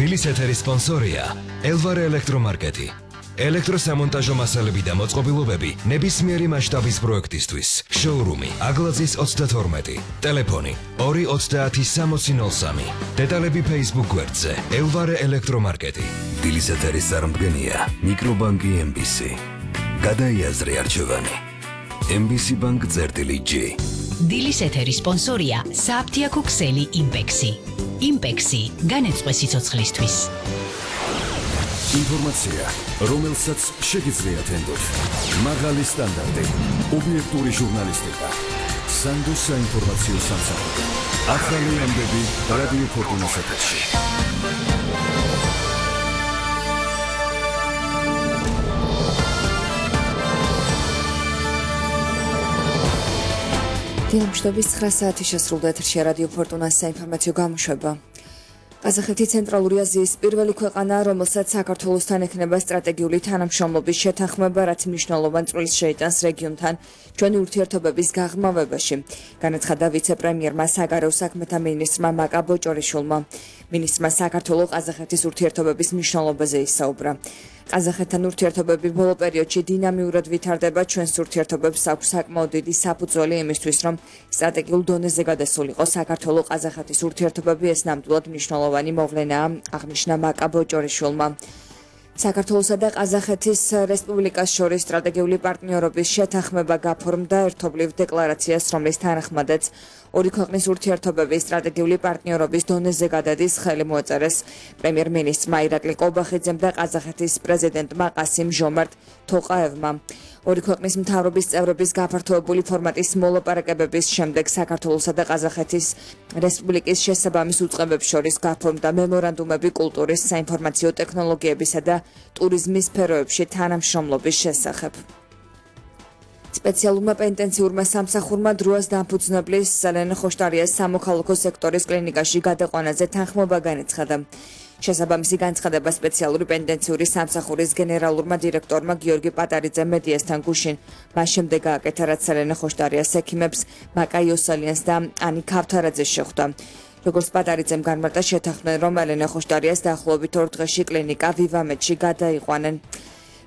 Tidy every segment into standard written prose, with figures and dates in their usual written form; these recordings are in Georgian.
დილის ეთერის სპონსორია ელვარე ელექტრომარკეტი. ელექტროსამონტაჟო მასალები და მოწყობილობები ნებისმიერი მასშტაბის პროექტისთვის. შოურუმი აგლაძის 32. ტელეფონი 2306003. დეტალები Facebook გვერდზე ელვარე ელექტრომარკეტი. დილის ეთერის წარმომადგენია მიკრობანკი MBC. გადაიაზრე არჩევანი. MBC Bank წერტილი-G. დილის ეთერის სპონსორია საფთიაქო ქსელი იმპექსი. იმპექსი განეწყვე სიცოცხლისთვის. ინფორმაცია, რომელსაც შეგიძლიათ ენდოთ. მაღალი სტანდარტი, ობიექტური ჟურნალისტიკა. სანდოს საინფორმაციო სამსახური. ახალი ამბები რადიო ფორტუნას ეთერში. დილამშვიდობის 9 საათი შესრულდა ეთერში რადიო ფორტუნას საინფორმაციო გამოშვება. ყაზახეთი ცენტრალური აზიის პირველი ქვეყანა, რომელსაც საქართველოსთან ექნება სტრატეგიული თანამშრომლობის შეთანხმება, რაც მნიშვნელოვან წვლილს შეიტანს რეგიონთან ჩვენი ურთიერთობების გაღრმავებაში, განაცხადა ვიცე-პრემიერმა საგარეო საქმეთა მინისტრმა მაკა ბოჭორიშვილმა. მინისტრმა საქართველო-ყაზახეთის ურთიერთობების მნიშვნელობაზე ისაუბრა. ყაზახეთთან ურთიერთობები ბოლო პერიოდში დინამიურად ვითარდება, ჩვენს ურთიერთობებს აქვს საკმაოდ დიდი საფუძველი იმისთვის, რომ სტრატეგიულ დონეზე გადასულიყო საქართველო-ყაზახეთის ურთიერთობები, ეს ნამდვილად მნიშვნელოვანი მოვლენაა, აღნიშნა მაკა ბოჭორიშვილმა. საქართველოსა და ყაზახეთის რესპუბლიკას შორის სტრატეგიული პარტნიორობის შეთანხმება გაფორმდა ერთობლივ დეკლარაციას, რომლის თანახმადაც ორი ქვეყნის ურთიერთობების სტრატეგიული პარტნიორობის დონეზე გადადის, ხელი მოაწერეს პრემიერ-მინისტრმა ირაკლი ყობახიძემ და ყაზახეთის პრეზიდენტმა ყასიმ-ჟომართ თოყაევმა. ორი ქვეყნის მთავრობის წევრების გაფართოებული ფორმატის მოლაპარაკებების შემდეგ საქართველოსა და ყაზახეთის რესპუბლიკის შესაბამის უწყებებს შორის გაფორმდა მემორანდუმები კულტურის, საინფორმაციო ტექნოლოგიებისა და ტურიზმის სფეროებში თანამშრომლობის შესახებ. სპეციალურმა პენტენციურმა სამსახურმა დროას დამფუძნებლის სელენე ხოშტარიას სამოქალაქო სექტორის კლინიკაში გადაყვანაზე თანხმობა განაცხადა. შესაბამისი განცხადება სპეციალური პენტენციური სამსახურის გენერალურმა დირექტორმა გიორგი პატარიძემ მედიასთან გუშინ მას შემდეგ გააკეთა, რაც სელენე ხოშტარიას ექიმებს მაკა იოსალიანს და ანი ქავთარაძეს შეხვდა. როგორც პატარიძემ განმარტა, შეთანხმდნენ, რომ ელენე ხოშტარიას დაახლოებით 2 დღეში კლინიკა ვივამედში გადაიყვანენ.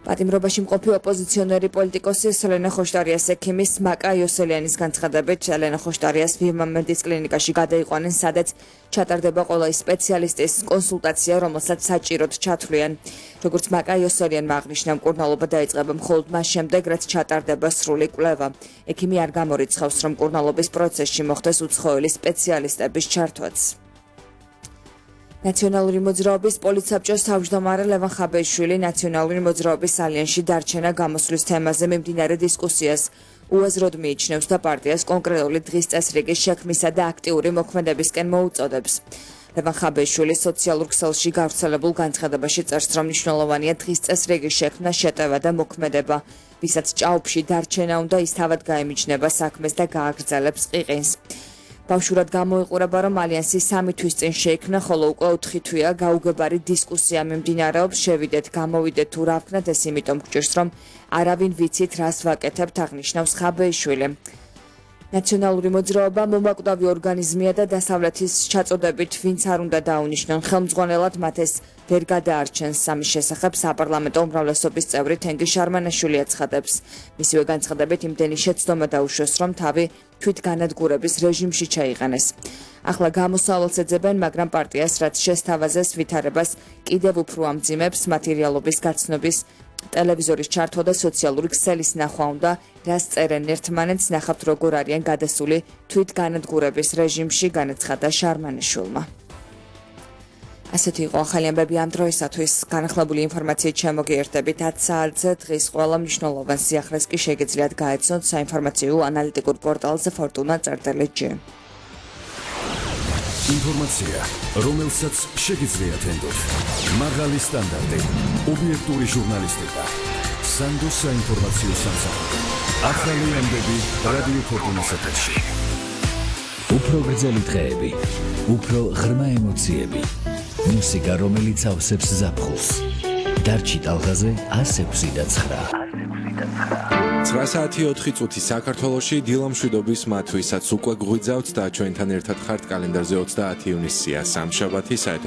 პატიმრობაში მყოფი ოპოზიციონერი პოლიტიკოსი სელენე ხოშტარიას ექიმის მაკა იოსელიანის განცხადებით, ელენე ხოშტარიას ვივამედის კლინიკაში გადაიყვანენ, სადაც ჩატარდება ყველა ის სპეციალისტის კონსულტაცია, რომელსაც საჭიროდ ჩათვლიან. როგორც მაკა იოსელიანმა აღნიშნა, მკურნალობა დაიწყება მხოლოდ მას შემდეგ, რაც ჩატარდება სრული კვლევა. ექიმი არ გამორიცხავს, რომ მკურნალობის პროცესში მოხდეს უცხოელი სპეციალისტების ჩართვაც. ნაციონალური მოძრაობის პოლიცსაბჭოს თავმჯდომარე ლევან ხაბეიშვილი ნაციონალური მოძრაობის ალიანსში დარჩენა გამოსვლის თემაზე მიმდინარე დისკუსიას უაზროდ მიიჩნევს და პარტიას კონკრეტული დღის წესრიგის შექმნისა და აქტიური მოქმედებისკენ მოუწოდებს. ლევან ხაბეიშვილი სოციალურ ქსელში გავრცელებულ განცხადებაში წერს, რომ მნიშვნელოვანია დღის წესრიგის შექმნა, შეტევა და მოქმედება, ვისაც ჭაობში დარჩენა უნდა, ის თავად გაემიჯნება საქმეს და გააგრძელებს ყიყინს. ბავშვურად გამოიყურება, რომ ალიანსი 3 თვის წინ შეიქმნა, ხოლო უკვე 4 თვეა გაუგებარი დისკუსია მიმდინარეობს, შევიდეთ, გამოვიდეთ თუ რა ვქნათ, ეს იმიტომ გვჭირს, რომ არავინ ვიცით რას ვაკეთებთ, აღნიშნავს ხაბეიშვილი. ნაციონალური მოძრაობა მომაკვდავი ორგანიზმია და დასავლეთის ჩაწოდებით ვინც არ უნდა დაუნიშნონ ხელმძღვანელად, მათ ეს ვერ გადაარჩენს. ამის შესახებ საპარლამენტო უმრავლესობის წევრი თენგიზ შარმანაშვილი აცხადებს. მისივე განცხადებით იმდენი შეცდომა დაუშვეს, რომ თავი თვითგანადგურების რეჟიმში ჩაიყენეს. ახლა გამოსავალს ეძებენ, მაგრამ პარტიას, რაც შესთავაზეს ვითარებას კიდევ უფრო ამძიმებს, მატერიალობის გაცნობის, ტელევიზორის ჩართვა და სოციალური ქსელის ნახვა უნდა, რას წერენ ერთმანეთს, ნახავთ როგორ არიან გადასული თვითგანადგურების რეჟიმში, განაცხადა შარმანაშვილმა. ასეთი იყო ახალი ამბები ამ დროისათვის. განახლებული ინფორმაციით შემოგიერთებით 10 საათზე. დღის ყველა მნიშვნელოვან სიახლეს კი შეგიძლიათ გაეცნოთ საინფორმაციო ანალიტიკურ პორტალზე fortuna.gt. ინფორმაცია, რომელსაც შეგიძლიათ ენდოთ. მაღალი სტანდარტი, ობიექტური ჟურნალისტიკა. სანდოს საინფორმაციო სამსახური. ახალი ამბები რადიო ფორტუნას ეთერში. უფრო გრძელი დღეები, უფრო ღრმა ემოციები. მუსიკა, რომელიც ავსებს ზაფხულს. დარჩი ტალღაზე 106.9. 9 საათი 4 წუთი საქართველოში დილამშვიდობის მათვისაც უკვე გვიძავთ და ჩვენთან ერთად ხართ კალენდარზე 30 ივნისია სამშაბათი.